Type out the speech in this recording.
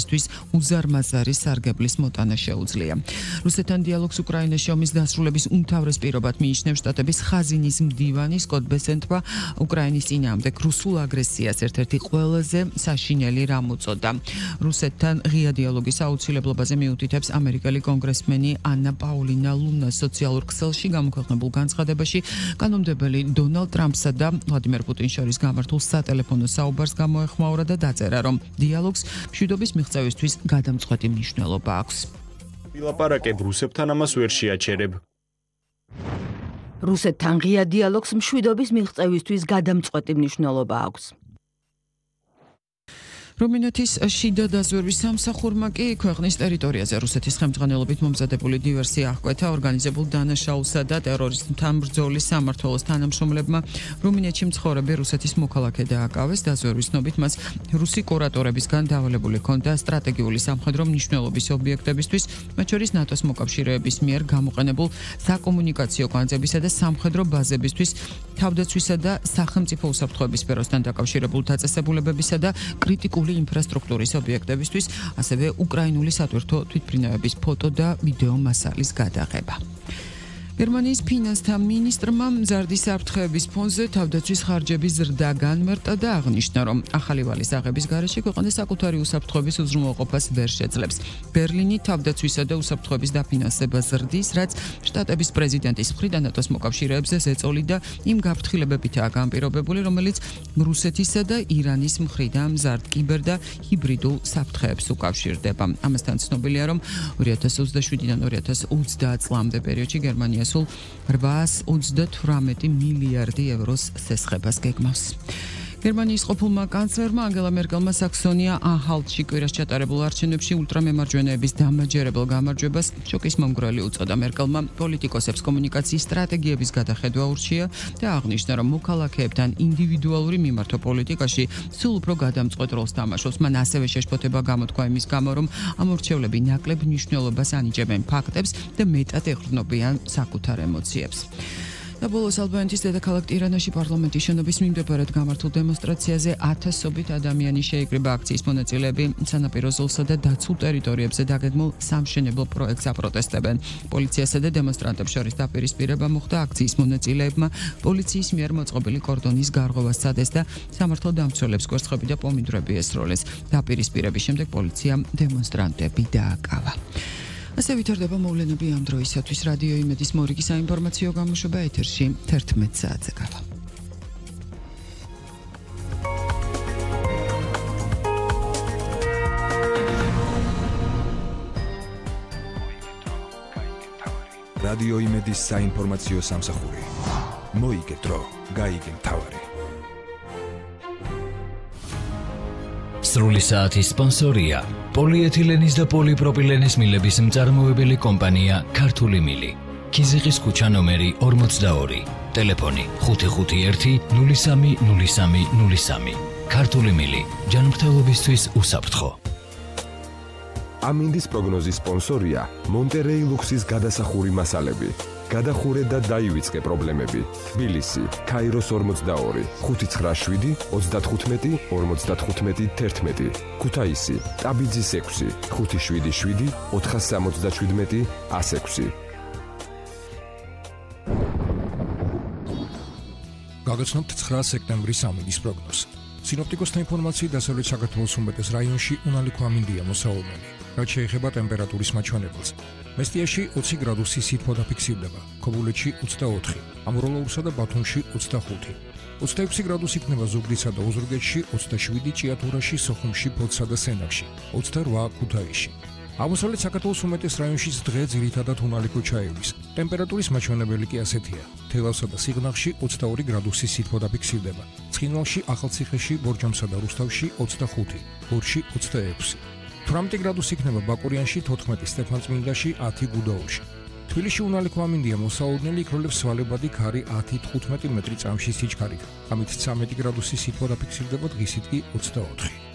ისთვის უზარმაზარი სარგებლის მოტანა შეუძლია. რუსეთთან დიალოგს უკრაინაში ომის დასრულების უმთავრეს პირობად მიიჩნევს შტატების ხაზინის მდივანი სკოტ ბესენტმა უკრაინის წინააღმდეგ რუსულ აგრესიას ერთ-ერთი ყველაზე საშინელი რამ უწოდა. რუსეთთან ღია დიალოგის აუცილებლობაზე მიუთითებს ამერიკელი კონგრესმენი ანა პაულინა ლუნა სოციალურ ქსელში გამოქვეყნებულ განცხადებაში კანონმდებელი დონალდ ტრამპსა და ვლადიმერ პუტინს შორის გამართულ სატელეფონო საუბარს გამოეხმაურა და დაწერა, რომ დიალოგს მშვიდობის მიღწევისთვის გადამწყვეტი მნიშვნელობა აქვს. ვილაპარაკებ რუსებთან ამას ვერ შეაჩერებ. რუსეთთან ღია დიალოგს მშვიდობის მიღწევისთვის გადამწყვეტი მნიშვნელობა აქვს. რუმინეთის შიდა დაზვერვის სამსახურმა კი ქვეყნის ტერიტორიაზე რუსეთის ხელმძღვანელობით მომზადებული დივერსია აღკვეთა ორგანიზებულ დანაშაულსა და ტერორიზმთან ბრძოლის სამმართველოს თანამშრომლებმა რუმინეთში მცხოვრები რუსეთის მოქალაქე დააკავეს. დაზვერვის ცნობით მას რუსი კურატორებისგან დავალებული ჰქონდა სტრატეგიული სამხედრო მნიშვნელობის ობიექტებისთვის, მათ შორის ნატოს მოკავშირეების მიერ გამოყენებულ საკომუნიკაციო კვანძებისა და სამხედრო ბაზებისთვის, თავდაცვისა და სახელმწიფო უსაფრთხოების სფეროსთან დაკავშირებულ დაწესებულებებისა და კრიტიკულ ინფრასტრუქტურის ობიექტებისთვის, ასევე უკრაინული სატვირთო თვითმფრინავების ფოტო და ვიდეო მასალის გადაღება. გერმანიის ფინანსთა მინისტრმა მზარდი საფრთხეების ფონზე თავდაცვის ხარჯების ზრდა განმარტა და აღნიშნა, რომ ახალი ვალის აღების გარეშე ქვეყანა საკუთარი უსაფრთხოების უზრუნველყოფას ვერ შეძლებს. ბერლინი თავდაცვისა და უსაფრთხოების დაფინანსებას ზრდის, რაც შტატების პრეზიდენტის მხრიდან ნატოს მოკავშირეებზე ზეწოლი და იმ გაფრთხილებებითაა განპირობებული, რომელიც რუსეთისა და ირანის მხრიდან მზარდ კიბერ და ჰიბრიდულ საფრთხეებს უკავშირდება. ამასთან ცნობილია, რომ 2027-დან 2030 წლამდე პერიოდში გერმანია სულ 838 მილიარდი ევროს სესხებას გეგმავს. გერმანიის ყოფილმა კანცლერმა ანგელა მერკელმა საქსონია-ანჰალტში კვირას ჩატარებულ არჩევნებში ულტრამემარჯვენეების დამაჯერებელ გამარჯვებას შოკის მომგვრელი უწოდა. მერკელმა პოლიტიკოსებს კომუნიკაციის სტრატეგიების გადახედვა ურჩია და აღნიშნა, რომ მოქალაქეებთან ინდივიდუალური მიმართვა პოლიტიკაში სულ უფრო გადამწყვეტ როლს თამაშობს. მან ასევე შეშფოთება გამოთქვა იმის გამო, რომ ამ ურჩევლები ნაკლებ მნიშვნელობას ანიჭებენ ფაქტებს და მეტად ეყრდნობიან საკუთარ ემოციებს. და ბოლოს ალბანეთის დედაქალაქ ტირანაში პარლამენტის შენობის მიმდებარედ გამართულ დემონსტრაციაზე ათასობით ადამიანი შეიკრიბა. აქციის მონაწილეები სანაპირო ზოლსა და დაცულ ტერიტორიებზე დაგეგმულ სამშენებლო პროექტს აპროტესტებენ. პოლიციასა და დემონსტრანტებს შორის დაპირისპირება მოხდა. აქციის მონაწილეებმა პოლიციის მიერ მოწყობილი კორდონის გარღვევა სცადეს და სამართალდამცველებს კვერცხები და პომიდრები ესროლეს. დაპირისპირების შემდეგ პოლიციამ დემონსტრანტები დააკავა. ასე ვითარდება მოვლენები ამ დროისათვის. რადიო იმედის მორიგი საინფორმაციო გამოშვება ეთერში 11 საათზე გავა. რადიო იმედის საინფორმაციო სამსახური. მოიგე დრო, გაიგე მთავარი. სრული საათის სპონსორია პოლიეთილენის და პოლიპროპილენის მილების მწარმოებელი კომპანია ქართული მილი. ქიზიყის ქუჩა ნომერი 42, ტელეფონი 551 03 03 03. ქართული მილი, ჯანმრთელობისთვის უსაფრთხო. ამინდის პროგნოზის სპონსორია მონტერეი ლუქსის გადასახური მასალები. გადახურე და დაივიწყე პრობლემები. თბილისი, ქაიროს 42, 597 35 55 11. ქუთაისი, ტაბიძის 6, 577 477 106. გაგაცნობთ 9 სექტემბრის ამინდის პროგნოზს. სინოპტიკოსთა ინფორმაციით დასავლეთ საქართველოს უმეტეს რაიონში უნალიქო ამინდია მოსაუბრებელი. რაც შეეხება ტემპერატურის მაჩვენებელს. მესტიაში 20 გრადუსი სითბო დაფიქსირდება, ქობულეთში 24, ამროლოურსა და ბათუმში 25. 26 გრადუსი იქნება ზუგდიდსა და ოზურგეთში, 27 ჭიათურაში, სოხუმში, ფოთსა და სენაკში, 28 ქუთაისში. აღმოსავლეთ საქართველოს უმეტეს რაიონშიც დღე ძირითადად უნალიქო ჩაივლის. ტემპერატურის მაჩვენებელი კი ასეთია: თელავსა და სიღნაღში 22 გრადუსი სითბო დაფიქსირდება, ცხინვალში, ახალციხეში, ბორჯომსა და რუსთავში 25, გორში 26. 18 გრადუსი იქნება ბაკურიანში, 14 სტეფანწმინდაში, 10 გუდაურში. თბილისში უნალიქო ამინდია მოსაუბრებელი, იქროლებს სვალებადი ქარი 10-15 მეტრი წამში სიჩქარით. ამით 13 გრადუსი სითბო დაფიქსირდება, დღისით კი 24.